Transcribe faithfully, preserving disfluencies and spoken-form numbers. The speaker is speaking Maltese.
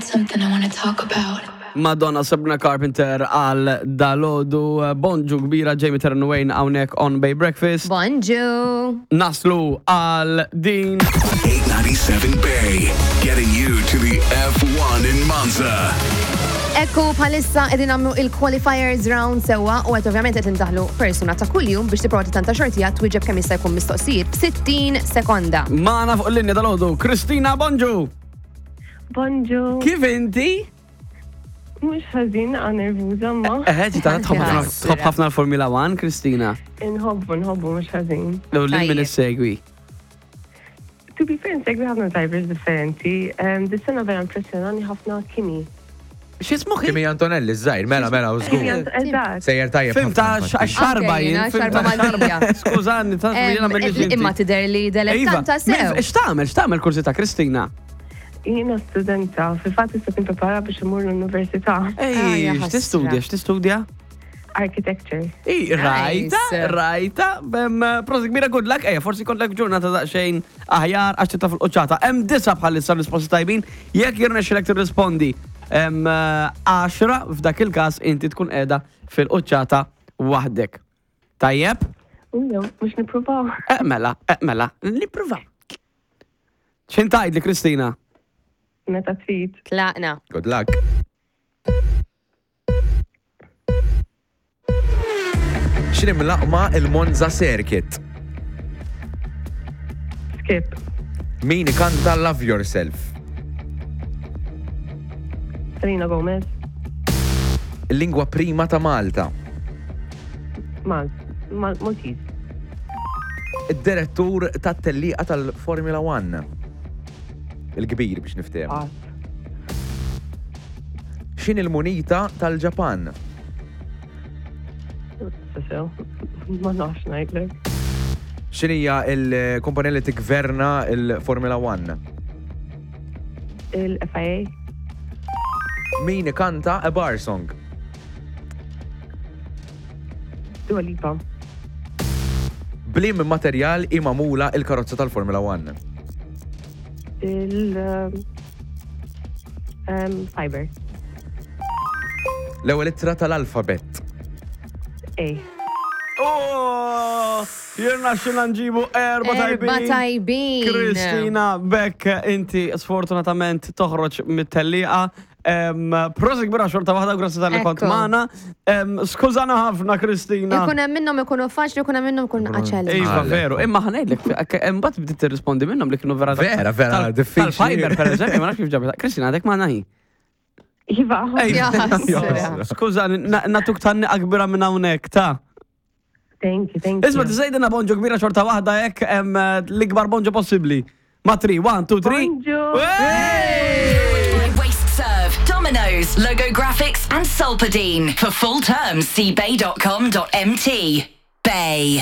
Got something I want to talk about. Madonna, Sabrina Carpenter għal dalgħodu. Bonġu kbira, Jamie Terran Wayne hawnhekk on Bay Breakfast. Bonġu. Naslu għal din. eight ninety-seven Bay, getting you to the F one in Monza. Ekku, bħalissa qegħdin nagħmlu il-qualifiers round sewwa u għet ovvjament qed indaħlu persuna ta' kuljum biex tipprova tanta xortija twieġeb kemm jista' jkun mistoqsijiet f'sittin sekonda. Magħna fuq il-linja dalgħodu, Kristina, bonġu. Bonġu. Kif inti? Mhux ħażin, għa nervuża ma. Eħe, ġita tħobb ħafna- tħobb ħafna l-Formula One, Kristina? Inħobbu, nħobbu mhux ħażin. U lil min Tajjeb. issegwi? To be fair, nsegwi ħafna drivers differenti. Um, Dis-sena vera impressjonani ħafna Kimi. X'ismu? Kimi Antonelli, żgħir, mela, mela, u Kimi żgur. Ant- Eżatt. Sejjer tajjeb Fim ta' ħafna, infatti. xarba Anke jien. jiena, Fim xarba ta' Maltija. Skużani, ta' jiena Em, mill Imma tidher li dilettanta sew. X'tagħmel, x'tagħmel kursi ta' Kristina? Jiena studenta, fil-fatt issa nipprepara biex imur l-università. Ah, Ej, ja x'tistudja, ħasra. x'tistudja? Architecture. I, rajta, Nice. rajta, bem, prosit kbira, good luck, ejja, forsi kollek ġurnata daqsxejn aħjar għax titla fil-qoċċata. Hemm disa bħalissa risposti tajbin, jekk jirnexxilek tirrispondi hemm għaxra, f'dak il-każ inti tkun qiegħda fil-qoċċata waħdek. Tajjeb? Ujo, mhux nippruvaw. Eh, mela, eh, mela, nippruvaw. X'int tgħidli, Kristina? Meta trid. Tlaqna. Good luck. X'inhi mlaqqma il-Monza Circuit? Skip. Min ikanta Love Yourself? Selena Gomez. Il-lingwa prima ta' Malta. Mal. Mal Maltese. Id-direttur tat-tellieqa tal-Formula One. Il-kbir biex niftehmu. Pass. X'inhi il-munita tal-Ġapan? Sew. Ma nafx ngħidlek. X'inhija il-kumpanija li tigverna il-Formula One? Il-F I A. Min ikanta A Bar Song? Dua Lipa. B'liem materjal hi magħmula il-karozza tal-Formula One? Il- um, um, Fiber. L-ewwel ittra tal-alfabet. A. Oh, jirnexxilna nġibu erba Erba tajbin. tajbin. Kristina, bekk inti sfortunatament toħroġ mit-tellieqa. Em, Prosit kbira xorta waħda, grazzi talli kont Ekku. magħna. Em, Skużana ħafna, Kristina. Ikun hemm minnhom ikunu faċli, ikun hemm minnhom ikunu aċċelli. Iva, Għalek. veru. Imma ħa ngħidlek, imbagħad bdiet tirrispondi minnhom li kienu vera. Vera, vera, tal- diffiċli. Tal-fiber, per eżempju, ma nafx kif ġabet. Kristina, għadek magħna hi? Iva. Ej, Ja, ħasra. Skużani, na- natuk tanni kbira minn hawnhekk, ta' Thank you, thank you. Isma, tgħidilna bonġu kbira xorta waħda hekk em, l-ikbar bonġu possibbli. Ma three, one, two, three. Bonġu. Hey! By Waste Serve, Domino's, Logo Graphics, and Solpadeine. For full terms, see bay dot com dot M T. Bay.